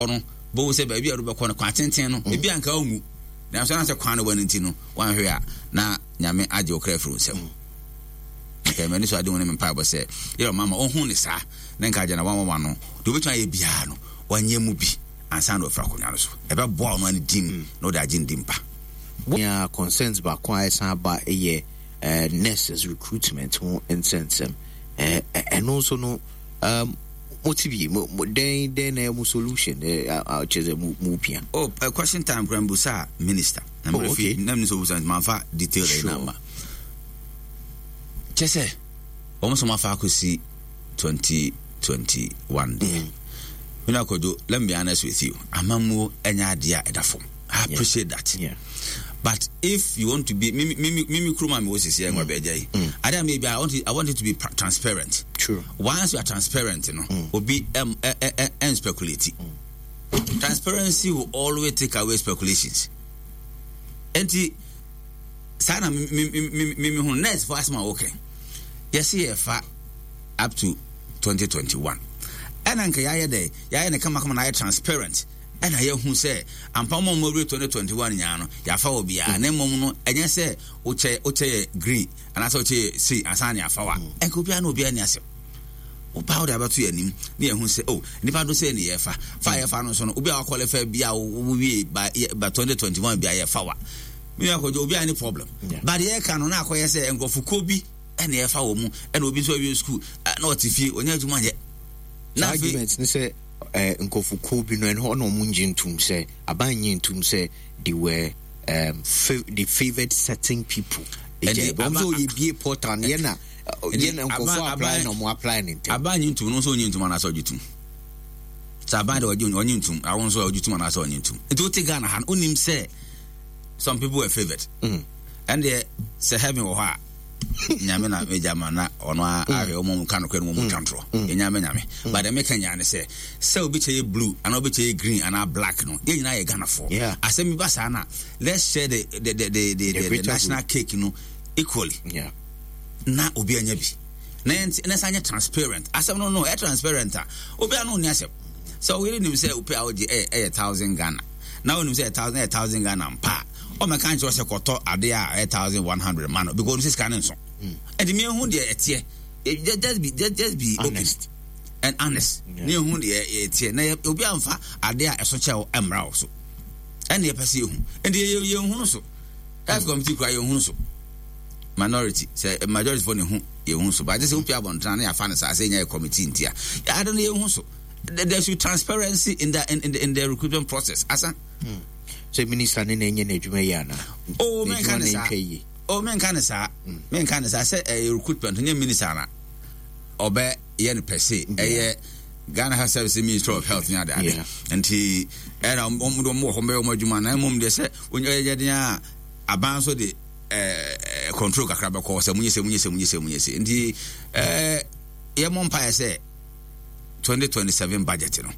No, bohu sɛ baabi a wobɛkɔ no, kwan tenten no, ebi anka wonwu. Nanso ɛnam sɛ kwan no wɔ no nti no, woanhwɛ a na Nyame agye wo kra afiri wo nsam. Nka m'ani so ade hu ne me mpaebɔ sɛ, yɛ ɔma ma ɔhu ne saa, na nka agya na wanwanwa no, deɛ obɛtumi ayɛ biara no, wanyɛ mu bi ansa na wafiri akonnwa no so. Ɛbɛboa ɔno ne din na ɔde agye ne din pa. Nea concerns baako a ɛsan ba yɛ nurses recruitment ho nsɛnsɛm. Ɛno nso no, um, mo ti bi mo mo dɛn dɛn na ɛyɛ mo solution ɛ a kyerɛ sɛ mo mo pia. Oh, uh, question time kura mbusa minister. Na oh, okay. Na minister obusa nti manfa detail ɛyi na ma. Kyɛ sɛ wɔn nso mafa akɔsi 2021 deɛ. Mm. Mina Kojo, let me be honest with you. Amamuo ɛnyɛ adeɛ a ɛda fam. I appreciate yeah. that. Yeah. But if you want to be mimi mimi mimi kuruma mi wo sisi ɛngwa bɛ gya yi. Ade mi bi I want it, I want it to be transparent. True. Once you are transparent, you know, mm. obi and speculate. Mm. Transparency will always take away speculations. Enti saa na mi mi mi mi mi hu nurse fo asɛm a wɔkɛ yɛsi yɛ fa up to 2021 ɛna nka yɛayɛ dɛ yɛayɛ ne kamakama na ayɛ transparent. Ɛna yɛahu sɛ ampa wɔn a wɔawie 2021 nyinaa no, yɛafa wɔ biara. Na mmom no, ɛnyɛ sɛ wokyɛ wokyɛ yɛ green anaasɛ wokyɛ yɛ sei ansa na yɛafa wa. Ɛnka obiara ne obiara ni asɛm. Woba wode abɛto yɛn anim na yɛahu sɛ oh nipa do sɛ ne yɛfa. Fa a yɛfa no nso no, obi a wakɔlify bi a wowie ba ba 2021 bi a yɛfa wa. Me nua Kwadwo, obiara ne problem. But yɛka no na akɔyɛ sɛ nkurɔfokuo bi ɛna yɛfa wɔ mu ɛna obi nso awie school na ɔte fie ɔnyɛ adwuma nyɛ. Na argument ne sɛ eh, nkurɔfokuo bi no ɛno na wɔn ngye ntum sɛ aban nye ntum sɛ they were um, they favoured certain people. Ɛgya wɔn sɛ ɔyɛ bie portal no yɛ na yɛ na nkurɔfoɔ apply na wɔn apply ne ntɛm. Aban nye ntum no nso ɔnye ntum anaasɛ ɔgye tum. Sɛ aban de ɔgye ɔnye ntum awo nso ɔgye tum anaasɛ ɔnye ntum. Nti wote Ghana ha no wonim sɛ some people were favoured. Ɛndeɛ sɛ heaven wɔ hɔ a nyame na megya ma na ɔno mm. ahwɛ ɔmo ka nokorɛ no wɔn twa ntorɔ mm. yɛ nyame nyame mm. but meka nyaa ne sɛ sɛ obi kyɛ yɛ blue anaa obi kyɛ yɛ green anaa black no yɛn nyinaa yɛ Ghanafoɔ asɛm bi ba saa na let's share the the the the, the, the, the national cake no equally yeah. na obi anya bi na yɛn na san nyɛ transparent asɛm no no ɛ transparent a obi ano ni asɛm sɛ ɔyere nim sɛ ope a ɔgye ɛyɛ ɛyɛ thousand Ghana na onim sɛ ɛyɛ thousand Ghana mpa a ɔmɛka nkyerɛ sɛ kɔtɔ adeɛ a ɛyɛ 1100 ma no because ɔno sɛ sika no nso ɛnti mm. mehu deɛ ɛteɛ just be just, just be honest. Open and honest ne ehu deɛ ɛteɛ na obi amfa adeɛ a ɛso kyɛw mmra wo so ɛne yɛpɛ sɛ yɛhu ɛnti yɛnhu no so health committee kura yɛnhu no so minority sɛ majority fo ne hu yɛnhu so but sɛ wopia abɔntena na yɛafa no saa sɛ ɛnya yɛ committee nti a yɛade no yɛnhu so there should be transparency in the in, in the in the recruitment process asa mm. Sɛ minister ne na ɛnyɛ n'adwuma yie anaa? Oh, menka ne saa. Oh, menka ne saa. Mm. Menka ne saa sɛ ɛyɛ recruitment nyɛ minister na ɔbɛ yɛ no pɛse. Ɛyɛ Ghana Health Service Ministry of Health ne ade ade. Nti ɛna wɔn de wɔn wɔ hɔ bɛyɛ wɔn adwuma na mmom deɛ sɛ wɔnyɛ yɛ den a aban nso de ɛɛ control kakra bɛkɔ sɛ munyɛ sɛ munyɛ sɛ munyɛ sɛ munyɛ sɛ nti ɛɛ yɛ mɔ mpaeɛ sɛ 2027 budget no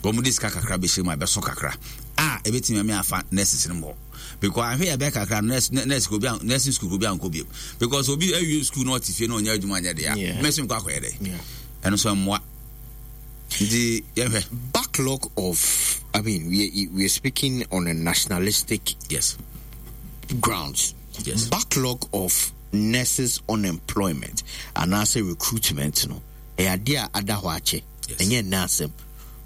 wɔn de sika kakra bɛhyɛ mu a ɛbɛso kakra a ɛbɛtumi ame afa nurses no mmɔ because ahwɛ yɛ bɛyɛ kakra nurse nurse obi nursing school obi ankɔ bio because obi awie school na ɔte fie na ɔnyɛ adwuma nyɛ deɛ mɛsi nkɔ akɔyɛ dɛ ɛno so mmoa nti yɛhwɛ. Backlog of I mean we are speaking on a nationalistic yes grounds. Yes. Backlog of nurses unemployment and anaasɛ recruitment no. Ɛyɛ adeɛ a ada hɔ akyɛ, ɛnyɛ nnɛ asɛm.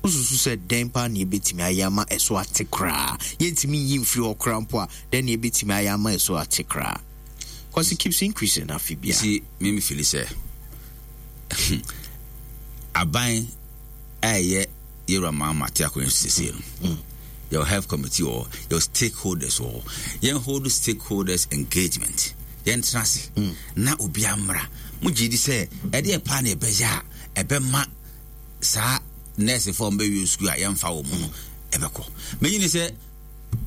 Wosusu sɛ dɛn paa na yɛbɛtumi ayɛ ama ɛso ate koraa? Yɛntumi nyi mfiri hɔ koraa mpo a, dɛn na yɛbɛtumi ayɛ ama ɛso ate koraa? Because it keeps increasing afe biara. You see, me me feel sɛ aban a ɛyɛ yɛwura maa ma te akonnwa so sese no. Mm. Yɛwɔ health committee wɔ hɔ, yɛwɔ stakeholders wɔ hɔ. Yɛn hold stakeholders engagement. Yɛntena ase mm. na obiara mmra. Mogye di sɛ ɛdeɛ paa na ɛbɛyɛ a ɛbɛma saa nɛɛsefoɔ a wɔbɛwie sukuu a yɛmfa wɔ mu no ɛbɛkɔ. Menyini sɛ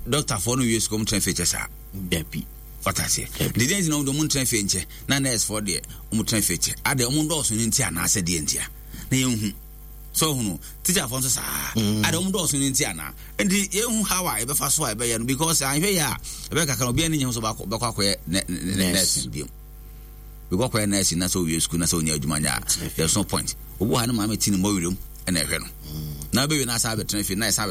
dɔktafoɔ no wie sukuu wɔn tena fie kyɛ saa. Dabi. Wata aseɛ. Deɛ deɛ nti na wɔn deɛ wɔn ntena fie nkyɛ na nɛɛsefoɔ deɛ wɔn tena fie kyɛ. Adeɛ wɔn dɔɔso no nti anaasɛ deɛ nti a na yɛnhu. So ohunu teacherfoɔ nso saa. Adeɛ wɔn dɔɔso no nti anaa. Nti yɛnhu how a yɛbɛfa so a yɛbɛyɛ no because anhwɛ yɛ a ɛbɛyɛ kakra obiara ne nyɛ ho sɛ ɔbɛkɔ akɔyɛ nɛɛse bio. Because kɔyɛ nurse na sɛ owie school na sɛ onya adwuma nyɛ a, there's no point. Obi wɔ ha ne maame ti ne mmɔ werɛm. ɛna ɛhwɛ no. Na wobɛwie no asan abɛtena fie na ɛsan.